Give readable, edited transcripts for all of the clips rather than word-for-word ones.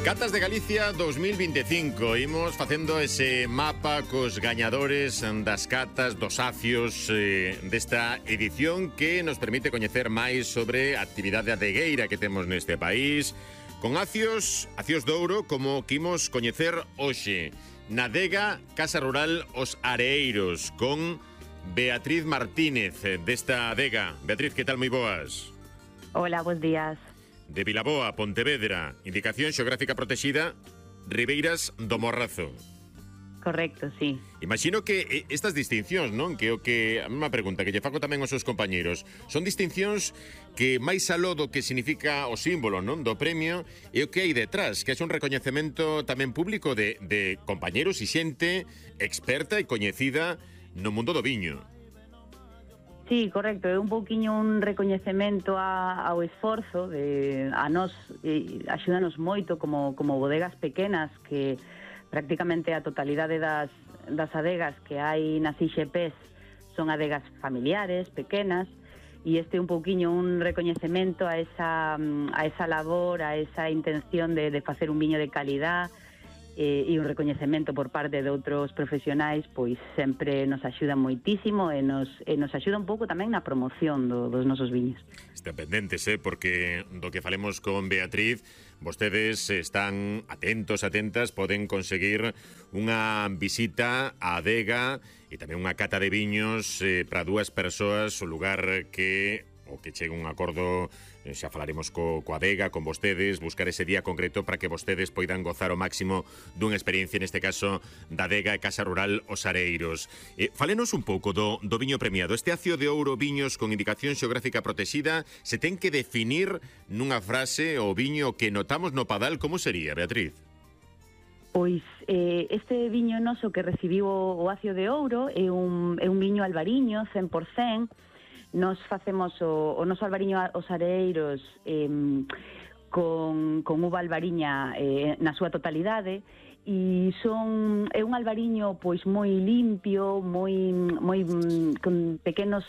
Catas de Galicia 2025. Imos facendo ese mapa cos gañadores das catas, dos acios desta edición que nos permite coñecer máis sobre a actividade adegueira que temos neste país, con acios de ouro como que imos coñecer hoxe na adega Casa Rural Os Areeiros con Beatriz Martínez desta adega. Beatriz, que tal? Moi boas. Hola, bons días. De Vilaboa, Pontevedra, indicación xeográfica protexida, Ribeiras do Morrazo. Correcto, sí. Imagino que estas distincións, non? Que o que a mesma pregunta que lle fago tamén aos seus compañeiros, son distincións que máis aló do que significa o símbolo, non? Do premio, e o que hai detrás, que é un recoñecemento tamén público de compañeiros e xente experta e coñecida no mundo do viño. Sí, correcto, é un pouquiño un recoñecemento ao esforzo a nós, axúdanos moito como bodegas pequenas que prácticamente a totalidade das adegas que hai nas IXPs son adegas familiares, pequenas, e este é un pouquiño un recoñecemento a esa labor, a esa intención de facer un viño de calidad, e un recoñecemento por parte de outros profesionais, pois sempre nos axuda moitísimo e nos axuda un pouco tamén na promoción dos nosos viños. Están pendentes, porque do que falemos con Beatriz, vostedes están atentas, poden conseguir unha visita á adega e tamén unha cata de viños para dúas persoas, o lugar que chegue un acordo, xa falaremos coa adega, con vostedes, buscar ese día concreto para que vostedes poidan gozar ao máximo dunha experiencia, neste caso, da adega e Casa Rural Os Areeiros. Fálenos un pouco do viño premiado. Este acio de ouro viños con indicación xeográfica protexida, se ten que definir nunha frase o viño que notamos no Padal, como sería, Beatriz? Pois este viño noso que recibiu o acio de ouro é un viño albariño, 100%. Nos facemos o noso albariño Os Areeiros con uva albariña na súa totalidade, e é un albariño pois moi limpio, moi con pequenos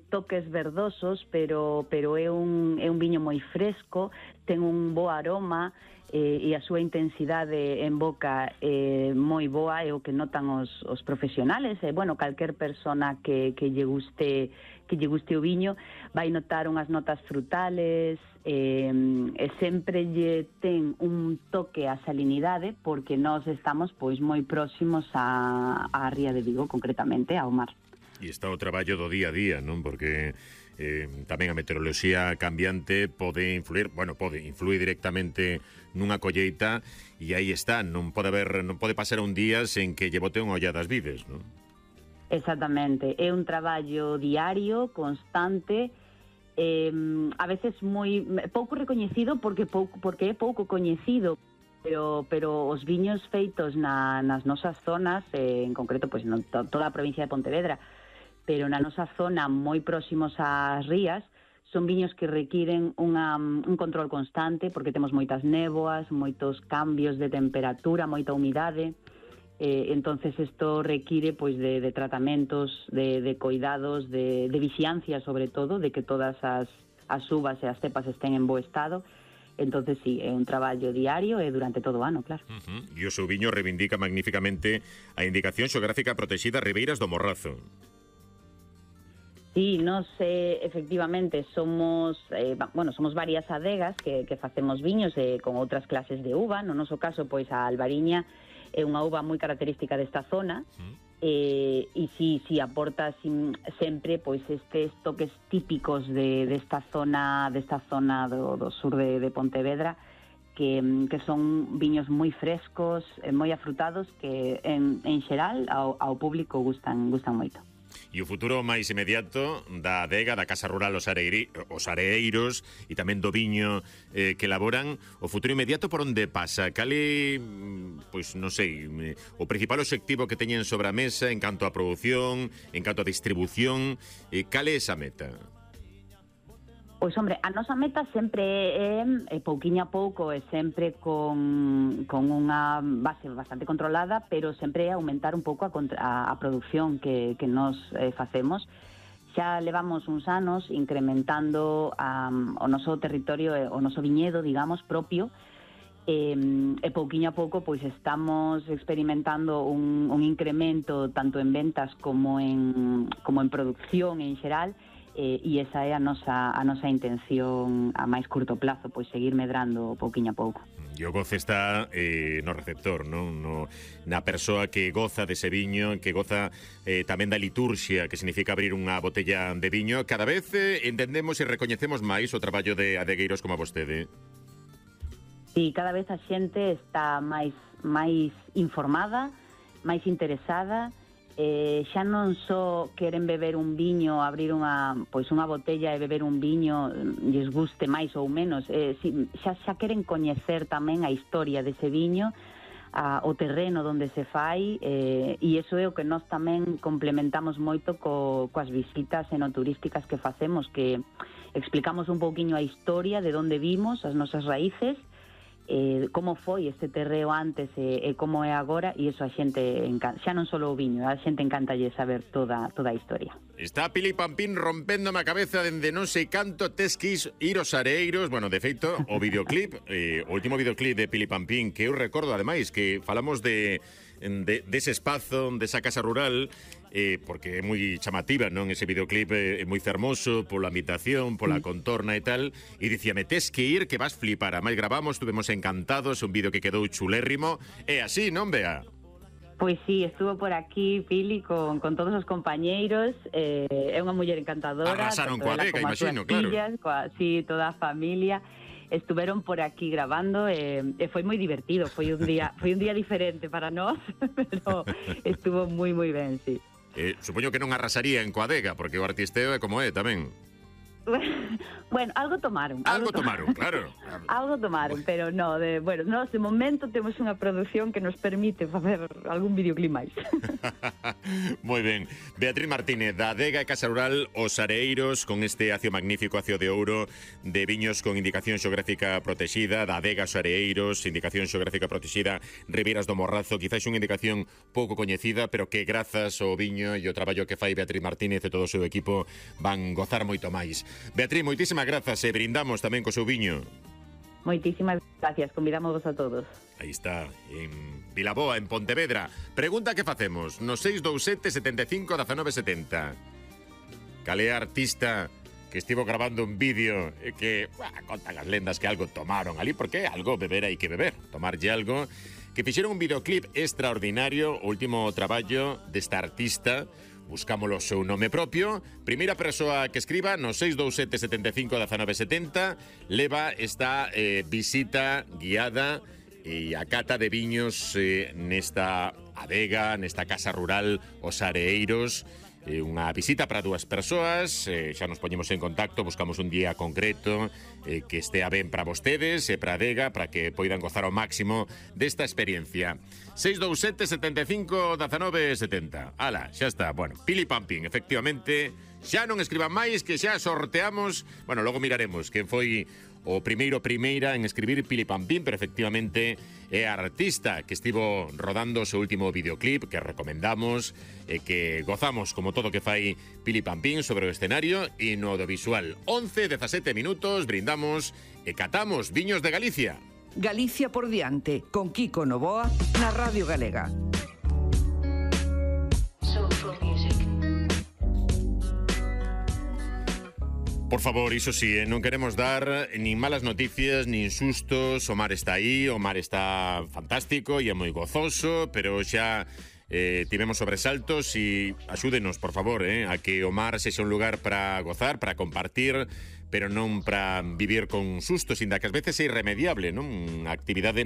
toques verdosos, pero é un viño moi fresco, ten un bo aroma e a súa intensidade en boca moi boa, é o que notan os profesionales, e calquer persona que lle guste o viño vai notar unhas notas frutales, e sempre lle ten un toque a salinidade, porque nós estamos pois moi próximos á ría de Vigo, concretamente ao mar. E está o traballo do día a día, non? Porque tamén a meteoroloxía cambiante pode influir directamente nunha colleita, e aí está, non pode pasar un día sen que lle bote unha ollada ás vides, non? Exactamente, é un traballo diario, constante, a veces moi pouco recoñecido porque é pouco coñecido, pero os viños feitos nas nosas zonas, en concreto pois toda a provincia de Pontevedra, pero na nosa zona moi próximos ás rías, son viños que requiren un control constante, porque temos moitas néboas, moitos cambios de temperatura, moita humidade. Entonces isto require pois de tratamentos, de cuidados, de vixiancia sobre todo, de que todas as uvas e as cepas estén en bo estado. Entonces sí, é un traballo diario e durante todo o ano, claro. E o seu viño reivindica magníficamente a indicación xeográfica protexida Ribeiras do Morrazo. Sí, nos efectivamente somos varias adegas que facemos viños con outras clases de uva. No noso caso, pois a albariña é unha uva moi característica desta zona, e si aporta sempre pois estes toques típicos desta zona do sur de Pontevedra, que son viños moi frescos, moi afrutados, que en xeral ao público gustan moito. E o futuro máis inmediato da adega, da Casa Rural Os Areeiros e tamén do viño que elaboran, o futuro inmediato por onde pasa? Cale, pois non sei, o principal obxectivo que teñen sobre a mesa en canto a produción, en canto a distribución, cale é esa meta? Pois, hombre, a nosa meta sempre é pouquiño a pouco, e sempre con unha base bastante controlada, pero sempre é aumentar un pouco a produción que nos facemos. Xa levamos uns anos incrementando o noso territorio, o noso viñedo, digamos, propio, e pouquiño a pouco pois estamos experimentando un incremento tanto en ventas como en producción en xeral, e esa é a nosa intención a máis curto plazo, pois seguir medrando pouquiño a pouco. E o goce está no receptor, non? Na persoa que goza dese viño, que goza tamén da liturxia, que significa abrir unha botella de viño. Cada vez entendemos e recoñecemos máis o traballo de adegueiros como vostede. Sí, cada vez a xente está máis informada, máis interesada. Xa non só queren beber un viño, abrir unha botella e beber un viño, lles guste máis ou menos, xa queren coñecer tamén a historia dese viño, o terreno onde se fai, e iso é o que nós tamén complementamos moito coas visitas enoturísticas que facemos, que explicamos un pouquiño a historia de onde vimos, as nosas raíces, como foi este terreo antes e como é agora, e iso a xente encanta, xa non só o viño, a xente encantalle saber toda a historia. Está Pili Pampín rompéndome a cabeza dende non sei canto tes que ir aos areiros. Bueno, de feito, o videoclip, o último videoclip de Pili Pampín, que eu recordo ademais que falamos dese espazo, desa casa rural, porque é moi chamativa, non? Ese videoclip é moi fermoso pola ambientación, pola contorna e tal, e dicíame, tes que ir que vas flipar. A máis gravamos, estuvemos encantados, un vídeo que quedou chulérrimo, e así, non, Bea? Pois sí, estuvo por aquí Pili con todos os compañeiros, é unha muller encantadora. Arrasaron coa Adega, imagino, claro. Sí, toda a familia estuveron por aquí grabando, e foi moi divertido, foi un día diferente para nós, pero estuvo moi ben, sí. Supoño que non arrasarían coa Adega, porque o artisteo é como é tamén. Bueno, algo tomaron, claro. Algo tomaron, pero no, nós de momento temos unha produción que nos permite facer algún videoclip máis. Moi ben. Beatriz Martínez, da Adega e Casa Rural Os Areiros, con este acio magnífico, acio de ouro, de viños con indicación xeográfica protexida, da Adega Os Areiros, indicación xeográfica protexida, Ribeiras do Morrazo, quizás unha indicación pouco coñecida, pero que grazas ao viño e o traballo que fai Beatriz Martínez e todo o seu equipo van gozar moito máis. Beatriz, moitísimas grazas e brindamos tamén co seu viño. Moitísimas gracias, convidamos a todos. Aí está, en Vilaboa, en Pontevedra. Pregunta que facemos no 627 75 19 70. Calé artista que estivo grabando un vídeo e que contan as lendas que algo tomaron ali, porque algo beber hai que beber, tomarlle algo, que fixeron un videoclip extraordinario, o último traballo desta artista. Buscámolo o seu nome propio. Primeira persoa que escriba no 627 75 19 70 leva esta visita guiada e a cata de viños nesta adega, nesta casa rural Os Areiros. Unha visita para dúas persoas, xa nos poñemos en contacto, buscamos un día concreto que estea ben para vostedes e para a adega, para que poidan gozar ao máximo desta experiencia. 627 75 19 70. Ala, xa está. Bueno, Pili Pampín, efectivamente, xa non escriban máis, que xa sorteamos. Bueno, logo miraremos quen foi o primeira en escribir Pili Pampín, pero efectivamente é a artista que estivo rodando o seu último videoclip, que recomendamos e que gozamos como todo que fai Pili Pampín sobre o escenario e no audiovisual. 11:17 minutos, brindamos e catamos viños de Galicia. Galicia por diante, con Kiko Novoa na Radio Galega. Por favor, iso sí, non queremos dar nin malas noticias, nin sustos. O mar está aí, o mar está fantástico e é moi gozoso, pero xa tivemos sobresaltos e axúdenos, por favor, a que o mar sexa un lugar para gozar, para compartir, pero non para vivir con sustos, inda que ás veces é irremediable, non? A actividade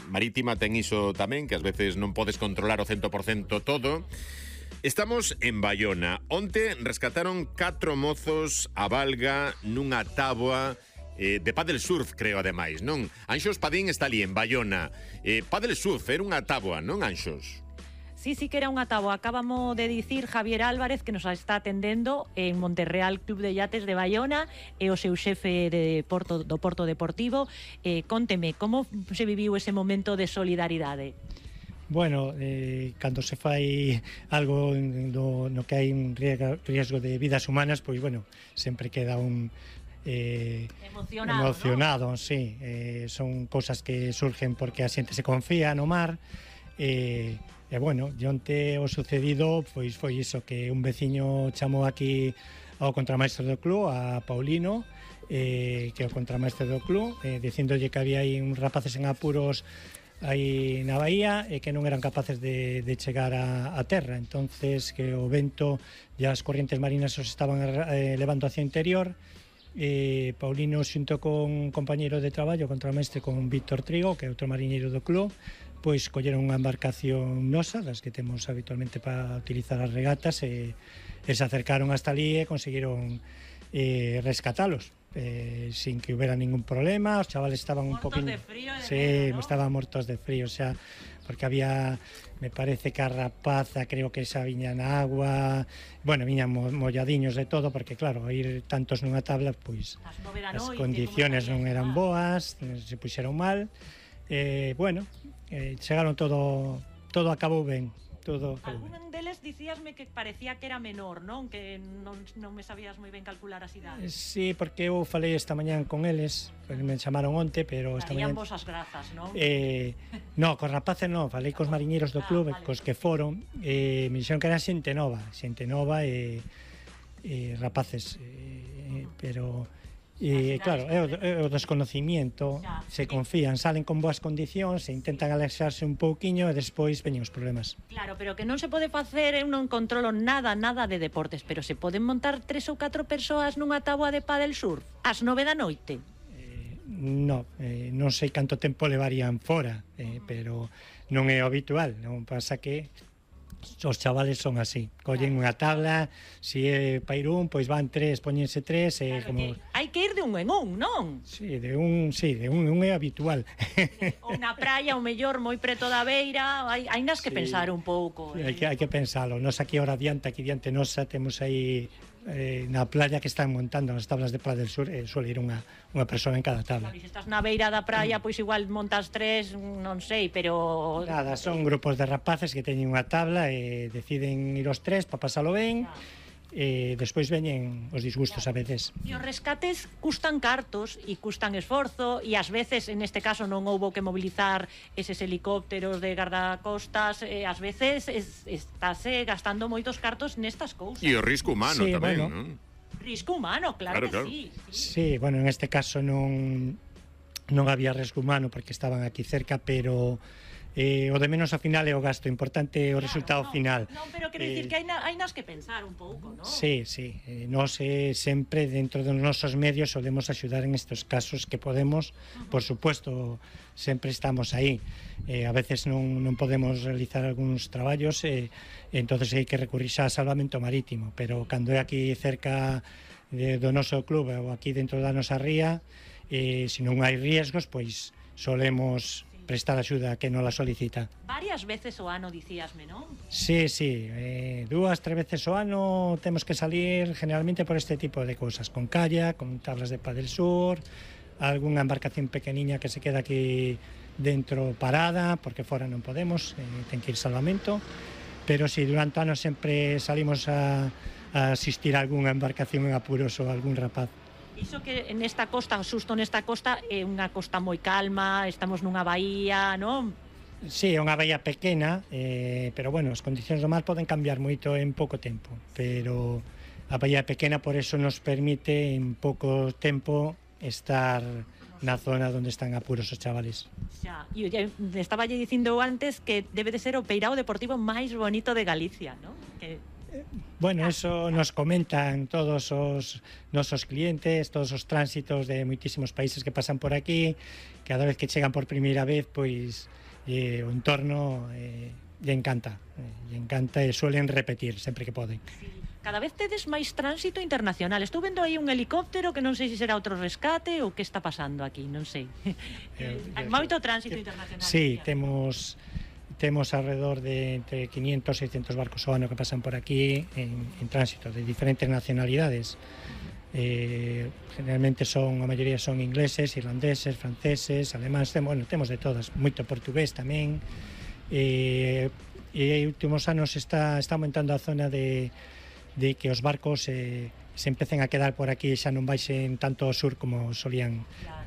marítima ten iso tamén, que ás veces non podes controlar o 100% todo. Estamos en Baiona. Onte rescataron 4 mozos a valga nunha táboa de paddle surf, creo, ademais, non? Anxos Padín está ali, en Baiona. Paddle surf, era unha táboa, non, Anxos? Sí, que era unha táboa. Acabamos de dicir Javier Álvarez, que nos está atendendo en Monterreal Club de Yates de Baiona, e o seu xefe do Porto Deportivo. Conteme, como se viviu ese momento de solidaridade? Bueno, cando se fai algo no que hai un riesgo de vidas humanas, pois, bueno, sempre queda emocionado, ¿no? Sí, son cousas que surgen porque a xente se confía no mar. Bueno, onte o sucedido pois foi iso, que un veciño chamou aquí ao contramaestre do club, a Paulino, que é o contramaestre do club, dicíndolle que había aí uns rapaces en apuros aí na bahía e que non eran capaces de chegar a terra. Entonces que o vento e as corrientes marinas os estaban levando hacia o interior. Paulino xunto con un compañeiro de traballo, contramestre, con Víctor Trigo, que é outro mariñeiro do club, pois colleron unha embarcación nosa, das que temos habitualmente para utilizar as regatas, e se acercaron hasta ali e conseguiron rescatalos sin que hubiera ningún problema. Os chavales estaban un poquinho de frío, sí, ¿no? Estaban mortos de frío, o sea, porque había, me parece que a rapaza, creo que esa viña na agua, bueno, viñan molladiños de todo, porque claro, ir tantos nunha tabla, pois as condiciones non eran boas, se puxeron mal. Bueno, chegaron todo acabou ben. Algún deles dicíasme que parecía que era menor, non? Que non me sabías moi ben calcular as idades. Sí, porque eu falei esta mañán con eles, me chamaron onte, pero esta mañán... vos as grazas, non? No, cos rapaces non, falei cos mariñeiros do club, vale. Cos que foron, me dixeron que era xente nova e rapaces, pero... claro, é o desconocimiento, se confían, salen con boas condicións, se intentan alexarse un pouquiño e despois veñen os problemas. Claro, pero que non se pode facer, eu non controlo nada de deportes, pero se poden montar 3 ou 4 persoas nunha táboa de pádel surf ás 9 da noite? Non sei canto tempo levarían fora, pero non é habitual, non pasa que os chavales son así, collen unha tabla, se é pairún, pois van 3, poñense 3 como... Hai que ir de un en un, non? Sí, de un é habitual. Ou na praia, o mellor, moi preto da beira, hai nas que pensar un pouco. Hai que pensalo, nos aquí ahora diante nosa, temos aí na playa que están montando as tablas de Pla del Sur, suele ir unha persoa en cada tabla. Claro, se estás na beira da praia, pois igual montas 3, non sei, pero... Nada, son grupos de rapaces que teñen unha tabla e deciden ir os 3 para pasalo ben, e despois veñen os disgustos a veces. E os rescates custan cartos e custan esforzo, e ás veces, en este caso, non houbo que mobilizar eses helicópteros de gardacostas, ás veces estáse gastando moitos cartos nestas cousas. E o risco humano tamén, bueno, non? Risco humano, claro que sí. Sí, bueno, en este caso non había risco humano porque estaban aquí cerca, pero... o de menos ao final é o gasto, importante é o resultado final. Non, pero quero dicir que hai nas que pensar un pouco, non? Sí, nós sempre dentro dos nosos medios solemos axudar en estes casos que podemos, por supuesto, sempre estamos aí. A veces non podemos realizar algúns traballos, entonces hai que recurrir xa a salvamento marítimo, pero cando é aquí cerca do noso club ou aquí dentro da nosa ría, se non hai riesgos, pois solemos prestar axuda que non la solicita. Varias veces o ano, dicíasme, non? Sí, 2, 3 veces o ano temos que salir generalmente por este tipo de cousas, con kayak, con tablas de Pla del Sur, algunha embarcación pequeniña que se queda aquí dentro parada, porque fora non podemos, ten que ir salvamento, pero sí, durante o ano sempre salimos a asistir a algunha embarcación en apuros ou algún rapaz. Iso que nesta costa, xusto nesta costa, é unha costa moi calma, estamos nunha bahía, non? Sí, é unha bahía pequena, pero bueno, as condicións do mar poden cambiar moito en pouco tempo, pero a bahía pequena por eso nos permite en pouco tempo estar na zona onde están apuros os chavales. Xa, e estaba lle dicindo antes que debe de ser o peirao deportivo máis bonito de Galicia, non? Que... Bueno, eso nos comentan todos os nosos clientes, todos os tránsitos de moitísimos países que pasan por aquí, cada vez que chegan por primeira vez, pois o entorno lle encanta e suelen repetir sempre que poden. Cada vez tedes máis tránsito internacional. Estou vendo aí un helicóptero que non sei se será outro rescate ou que está pasando aquí, non sei. Hai moito tránsito internacional. Sí, temos alrededor de entre 500 e 600 barcos ao ano que pasan por aquí en tránsito de diferentes nacionalidades. Generalmente a maioría son ingleses, irlandeses, franceses, alemáns, bueno, temos de todas, moito portugués tamén. E últimos anos está aumentando a zona de que os barcos se empecen a quedar por aquí, xa non baixen tanto ao sur como solían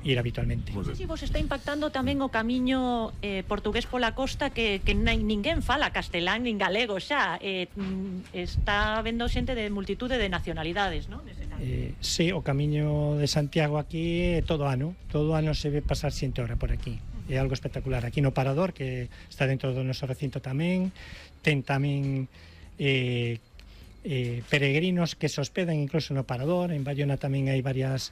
ir habitualmente. Non sei se vos está impactando tamén o camiño portugués pola costa que ninguén fala castelán nin galego xa, está vendo xente de multitude de nacionalidades, non? Sí, o camiño de Santiago aquí todo ano se ve pasar xente hora por aquí. É algo espectacular. Aquí no Parador, que está dentro do noso recinto tamén, ten tamén peregrinos que se hospedan incluso no Parador. En Bayona tamén hai varios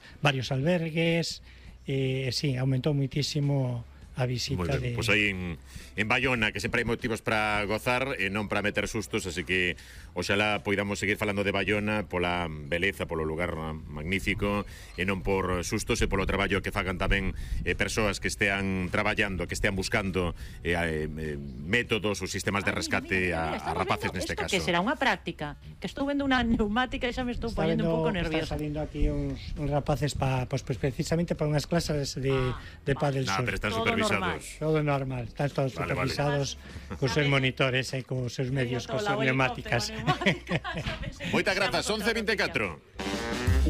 albergues. Sí, aumentou muitísimo a visita de... Pois aí en Bayona, que sempre hai motivos para gozar e non para meter sustos, así que oxalá poidamos seguir falando de Bayona pola beleza, polo lugar magnífico, e non por sustos, e polo traballo que fagan tamén persoas que estean traballando, que estean buscando métodos ou sistemas de rescate a rapaces neste caso. Que será unha práctica, que estou vendo unha neumática e xa me estou ponendo un pouco nerviosa. Están salindo aquí uns rapaces pues precisamente para unhas clases de pádel surf. Pero están supervisados. Todo normal, están todos supervisados cos seus monitores e cos seus medios, cos seus neumáticas. Moitas grazas, 11:24.